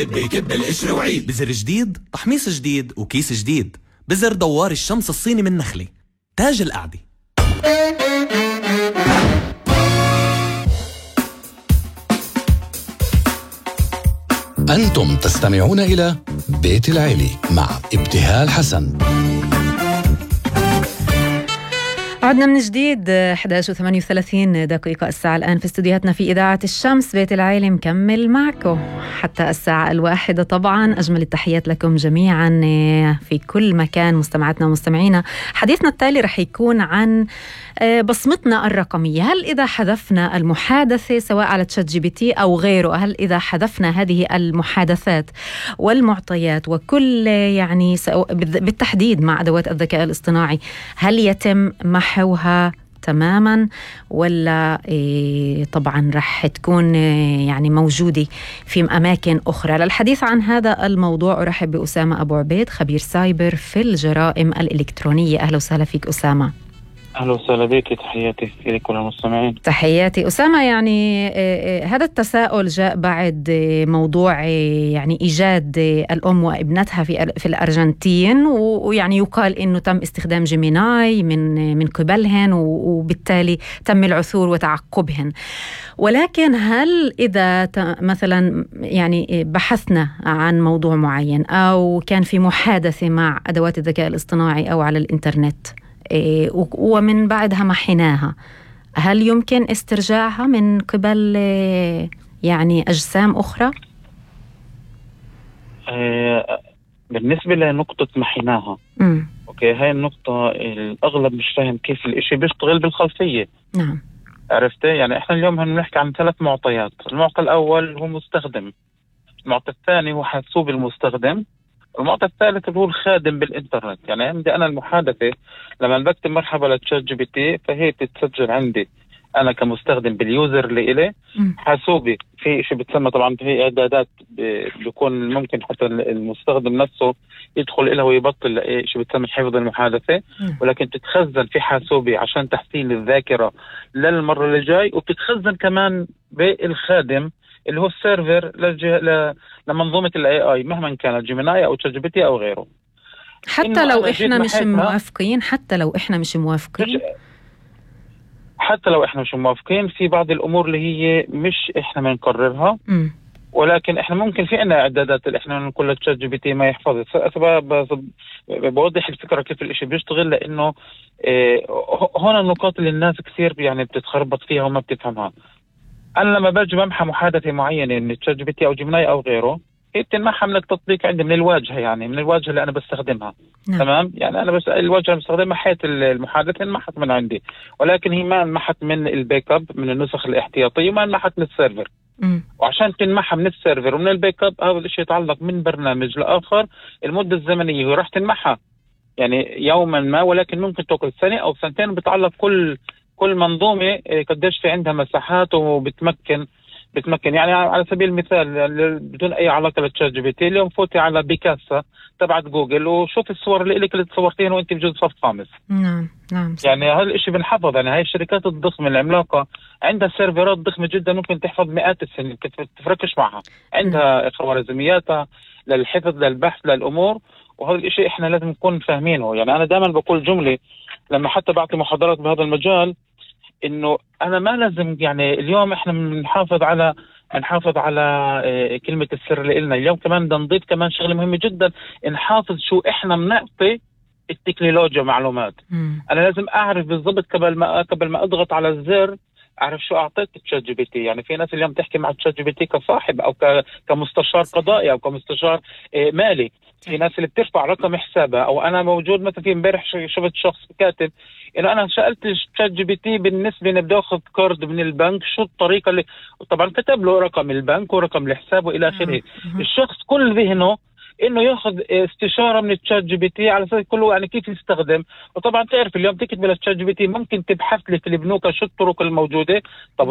بكب القشر وعيد بزر جديد، تحميص جديد وكيس جديد. بزر دوار الشمس الصيني من نخلة، تاج القعدة. أنتم تستمعون إلى بيت العيلة مع ابتهال حسن. عدنا من جديد 11:38 دقيقة الساعة الآن في استوديوهاتنا في إذاعة الشمس. بيت العيلة مكمل معكم حتى الساعة 1 طبعا. أجمل التحيات لكم جميعا في كل مكان مستمعاتنا ومستمعينا. حديثنا التالي رح يكون عن بصمتنا الرقمية. هل إذا حذفنا المحادثة سواء على تشات جي بي تي أو غيره، هل إذا حذفنا هذه المحادثات والمعطيات وكل يعني بالتحديد مع أدوات الذكاء الاصطناعي، هل يتم محوها تماما ولا طبعا رح تكون يعني موجودة في أماكن أخرى؟ للحديث عن هذا الموضوع أرحب بأسامة أبو عبيد، خبير سايبر في الجرائم الإلكترونية. أهلا وسهلا فيك أسامة. أهلا وسهلا بك، تحياتي لكل المستمعين. تحياتي أسامة. يعني هذا التساؤل جاء بعد موضوع يعني إيجاد الأم وابنتها في الأرجنتين، ويعني يقال إنه تم استخدام جيميناي من قبلهن، وبالتالي تم العثور وتعقبهن. ولكن هل إذا مثلا يعني بحثنا عن موضوع معين أو كان في محادثة مع أدوات الذكاء الاصطناعي أو على الإنترنت ومن بعدها محيناها، هل يمكن استرجاعها من قبل يعني أجسام أخرى؟ بالنسبة لنقطة محيناها، أوكي، هاي النقطة الأغلب مش فاهم كيف الإشي بيشتغل بالخلفية. نعم، عرفته؟ يعني إحنا اليوم هنحكي عن 3 معطيات. المعطى الأول هو مستخدم، المعطى الثاني هو حاسوب المستخدم، المعطى الثالث اللي هو الخادم بالإنترنت. يعني عندي أنا المحادثة لما بكتب مرحبا لتشات جي بي تي، فهي بتتسجل عندي أنا كمستخدم باليوزر اللي إلي. حاسوبي في شيء بتسمى طبعا في إعدادات بيكون ممكن حتى المستخدم نفسه يدخل إلها ويبطل شيء بتسمى حفظ المحادثة، ولكن تتخزن في حاسوبي عشان تحسين الذاكرة للمرة اللي جاي، وبتتخزن كمان بالخادم اللي هو السيرفر لمنظومة الاي اي مهما كانت جيميناي او تشات جي بي تي او غيره. حتى لو احنا مش موافقين، حتى لو احنا مش موافقين في بعض الامور اللي هي مش احنا بنقررها، ولكن احنا ممكن في عنا اعدادات اللي احنا نقول لتشات جي بي تي ما يحفظها. بوضح الفكرة كيف الاشي بيشتغل، لانه هون النقاط اللي الناس كثير يعني بتتخربط فيها وما بتفهمها. أنا لما باجي بمحى محادثة معينة من تشات جي بي تي أو جيميناي أو غيره، هي بتنمحى من التطبيق عندي، من الواجهة، يعني من الواجهة اللي أنا بستخدمها. نعم. تمام، يعني أنا بس الواجهة اللي بستخدمها حيث المحادثة انمحت من عندي، ولكن هي ما انمحت من الباك اب من النسخ الاحتياطية، وما انمحت من السيرفر. وعشان تنمحى من السيرفر ومن الباك اب، هذا الشيء يتعلق من برنامج لآخر. المدة الزمنية هي راح تنمحى يعني يوما ما، ولكن ممكن تأخذ سنة أو سنتين، بتعلق كل منظومة قديش في عندها مساحات وبتمكن يعني على سبيل المثال بدون أي علاقة للتشات جي بي تي، اليوم فوتي على بيكاسا تبعت جوجل وشوف الصور اللي تصورتينها وانت بجوز صف خامس. نعم يعني هذا الاشي بنحفظ. يعني هاي الشركات الضخمة العملاقة عندها سيرفرات ضخمة جدا ممكن تحفظ مئات السنين، تفركش معها، عندها خوارزمياتها للحفظ للبحث للأمور. وهذا الاشي احنا لازم نكون فاهمينه. يعني انا دائما بقول جملة لما حتى بعطي محاضرات بهذا المجال، انه انا ما لازم، يعني اليوم احنا نحافظ على كلمة السر اللي إلنا. اليوم كمان بدنا نضيف كمان شغلة مهمة جدا، نحافظ شو احنا بنعطي التكنولوجيا معلومات. انا لازم اعرف بالضبط قبل ما اضغط على الزر، اعرف شو اعطيت تشات جي بي تي. يعني في ناس اليوم تحكي مع تشات جي بي تي كصاحب او كمستشار قضائي او كمستشار مالي. في ناس اللي بترفع رقم حسابها، او انا موجود مثلا في امبارح شفت شخص كاتب انه انا سالت تشات جي بي تي بالنسبه اني بدي اخذ كارد من البنك شو الطريقه اللي، طبعا كتب له رقم البنك ورقم الحساب والى اخره. الشخص كل ذهنه انه ياخذ استشاره من التشات جي بي تي على اساس كله يعني كيف يستخدم. وطبعا تعرف اليوم تكتب للتشات جي بي تي ممكن تبحث لك البنوك شو الطرق الموجوده. طب